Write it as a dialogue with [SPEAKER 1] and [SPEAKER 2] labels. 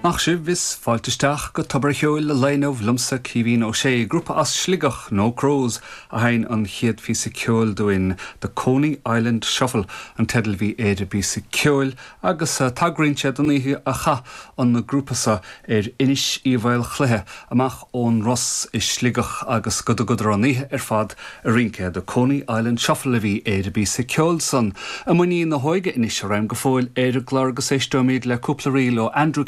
[SPEAKER 1] Maith sibh is fáilte isteach go Tobar a' Cheoil an lae inniu liomsa Caoimhín Ó Sé, grúpa as Sligeach, No Crows, a sheinn an chéad phíosa ceoil dúinn, The Coney Island Shuffle an teideal a bhí ar an bpíosa ceoil agus tagraíonn sé don oíche a chaith an grúpa seo ar Inis Uí Mhaolchluiche amach ón Ros i Sligeach agus go dtugadar an oíche ar fad ag rince. The Coney Island Shuffle a bhí ar an bpíosa ceoil san. I muinín na hóige anois a raghaim go fóill ar an gclár agus éisteoimid le cúpla ríl ó Andrew.